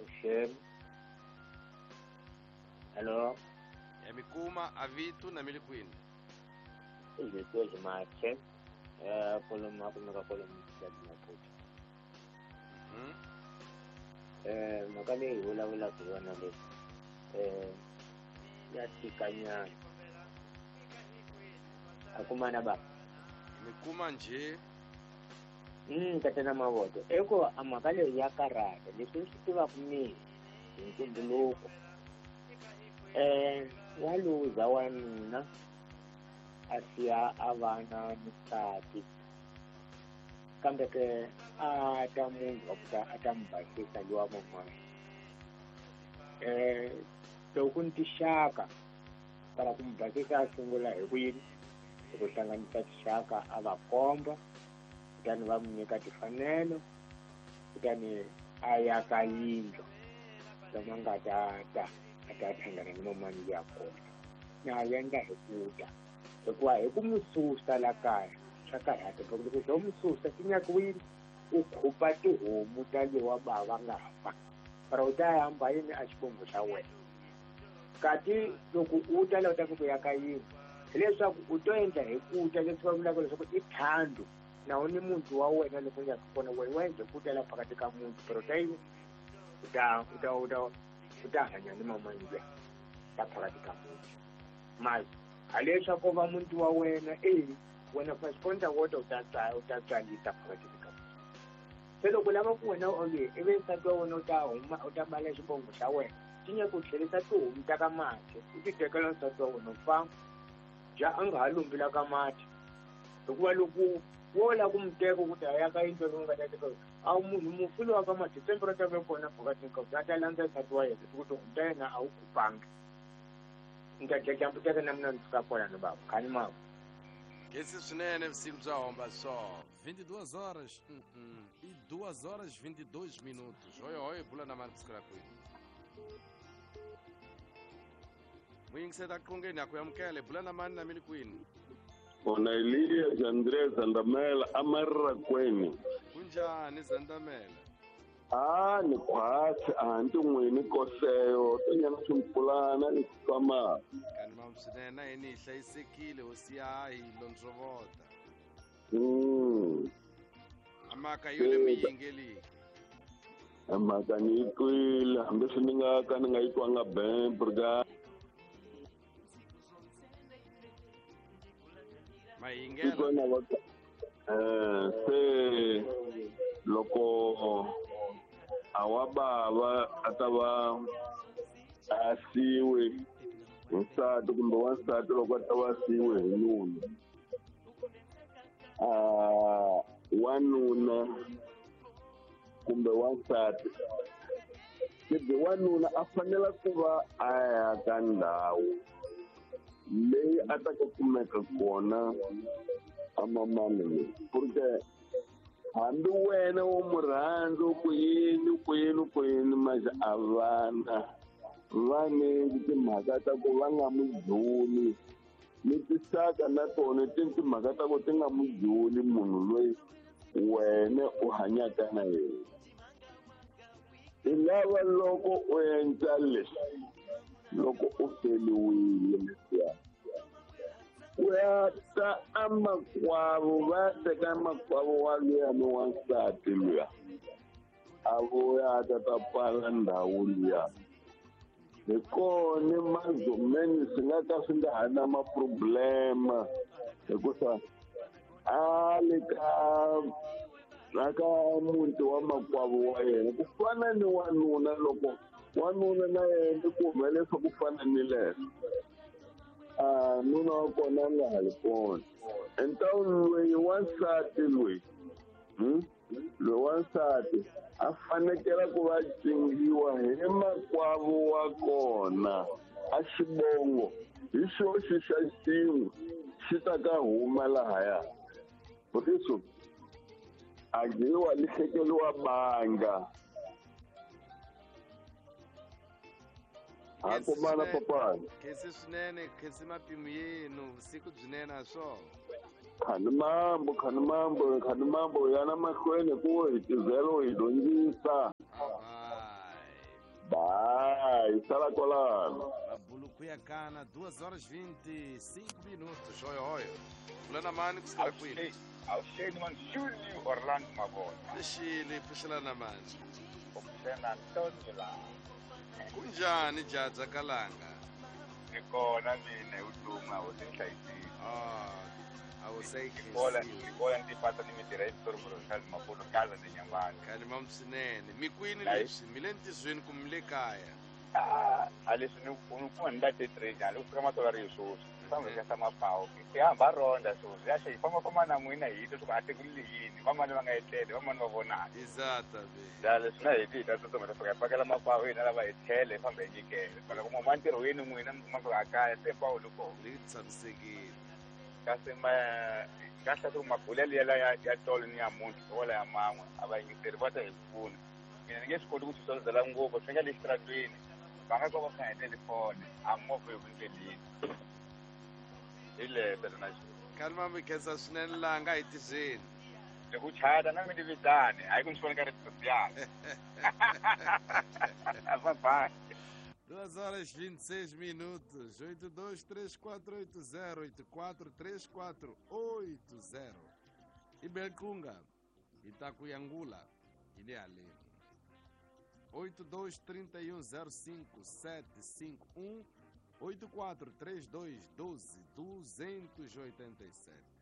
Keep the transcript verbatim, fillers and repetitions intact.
Oxen. Hello. Ya mikuma avitu na milikwini. Izito jimache. Eh koloma kumeka koloma ya Maputo. Mhm. Eh makale wala wala kuona le. Eh ya tikanya. Akumana ba. Mikuma nje. Mm tatana mavoto. Eko amakale ya karata leswi swi tivaka mina hi ntumbuluko. Eh wa luza wanuna a siya a vana ni nsati kambe ke a ta munhu wa ku ta a ta mi basisa luwa man'wana. Eh loko ni tixaka para ku mi basisa a sungula hi ku yini hi ku hlanganisa tixaka a va komba kutani va mi nyika timfanelo kutani a ya ka yindlu lama nga ta ta a ta hlangana ni mamani ya kona na endla hi ku ta hikuva hi ku mi susa la kaya swa karhata loko loko swo mi susa swi nyakiwile u khupa tihomu ta lewa bava nga fa para u ta hamba yini a xivongo xa wena kati loko u ta la u ta ku ya ka yini hileswaku u to endla hi ku ta leswi va vulaka leswaku i thando na u ni muntu wa wena loko u ya kona wena wa endla ku ta la phakati ka muntu pero ta yini u ta u ta u ta u ta hanya ni mamani luya la phakati ka muntu mali haleswaku va muntu wa wena e wena fa xikonta wota u ta u ta tswalisa phakati ka muntu se loko lava ku wena onge ivi nsati wa wena u ta huma u ta bala xivongo xa wena swi nyaka u tlherisa tihomu ta ka mati u ti tekela nsati wa wena u famba ja a nga ha lumbi la ka mati hikuva loko wo lava ku mi teka ku ta ya ka yindlu leyi u nga ta teka a munhu mufi lowa ka mati tsembe ra ta ve kona phakati ka a ta landza nsati wa yena ku tihomu ta yena a wu kupangi ni ta dya teka na mina ni suka kona ni bava khani mava. Esse swinene vusiku bya homba swo vinte e duas horas mm -mm. e duas horas vinte e dois minutos. Oi oi bula na mani kusukela kwini muyingiseta qongeni ya ku amukele bula na mani na mili kwini. Kona Elias Andrés Zandamela amarra kweni. Kunjani Zandamela? Ah ni khwatsi a ndi n'wini koseyo tonyana swimpfulana ni kufama. Kani mamswinene yini hi hlayisekile hosi ya hi londzovota. Mm. Amaka yo le miyingeliki. Amaka ni yi twile hambi swi ni nga ka ni nga yi twanga bembe. Mayingela. Eh se loko awa bava a ta va a siwe nsati kumbe wansati loko a ta va siwe hi nuna a wanuna kumbe wansati kumbe wanuna a fanela ku va a ya ka ndhawu leyi a ta ka kumeka kona a mamani porque hambi wena wo mu rhandza ku yini ku yini ku yini manje a vana va ni timhaka ta ku va nga mu dzuni ni tisaka na tona ti timhaka ta ku ti nga mu dzuni munhu loyi wena u hanyaka na yena. I lava loko u endla leswi loko u feliwile leswiya u ya ta amakwavo va teka makwavo wa luya ni wansati luya a vuya a ta ta pfala ndhawu luya hi kona mazomeni swi nga ka swi nga ha na maproblema hikusa a le ka la ka muti wa makwavo wa yena ku fana ni wanuna loko wanuna na yena ku humelesa ku fana ni leswo a nuna wa kona a nga ha ri kona entawu loyi wansati loyi loyi wansati a fanekela ku va cingiwa hi makwavo wa kona a xivongo hi xoxi xa xin'we xi ta ka huma lahaya butiso a dyiwa li hlekeliwa banga. A kumana papani. Khensi swinene khensi mapimo yenu vusiku byinene a swona. Khani mambo khani mambo khani mambo yana mahlweni ku hi tizelo hi dyondzisa. Bye. hi sala kwalano. Mabuluku ya kana duas horas vinte e cinco minutos. Oi, oi. Bula na mani kusukela kwini? Awuxeni man Julio Orlando Mabona. Lexile pfuxela na mani. Upfuxela Antonio la. Kunjani jaja kalanga? Ni kona mina hi vutomi a wu tinhlayisile. Ah, a wu se Kola ni kola ni tipata ni mitirha hi Pitori Charles Maputo kaza ni nyamani. Kani mam swinene. Mi kwini leswi? Mi le ntirhweni kumbe mi le kaya? Ah, a leswi ni ni kuma ni late train a loko fika matolari hi swoswi. Famba hi xa mapawu. Hi hamba ronda swoswi. Ya xi famba famba na n'wina hi twa swa ku a tekile yini. Vamani va nga etlele, vamani va vonaka. Exatamente. Ya leswi na hi ti hi ta tsutsuma ta fika hi pakela mapawu hina lava hi tlhele hi famba hi nyikela. Phela ku ma ntirhweni n'wina mi kuma fika a kaya se pawu loko. Ri tshamisekile. Kasi ma kahle ku mabulelo ya ya ya tolo ni ya munhu wala ya man'we a va yingiseri va ta hi pfuna. Mina ni nge swi koti ku swi solozela ngopfu swi nga le xitaratweni. Va nga ka va nga heteli fone a movha yo ndleleni. Hi leswo na xo. Kani ma mi khensa swinene laha nga hi tirheni. Loko u chata na mi ni vitani hayi ku ni swi vona ka ri ya. Bye bye. Duas horas vinte e seis minutos, oito dois três quatro oito zero, oito quatro três quatro oito zero. Ibelkunga, Itacuiangula, Ilha-Alene. oito dois três um zero cinco sete cinco um, oito quatro três dois doze duzentos e oitenta e sete.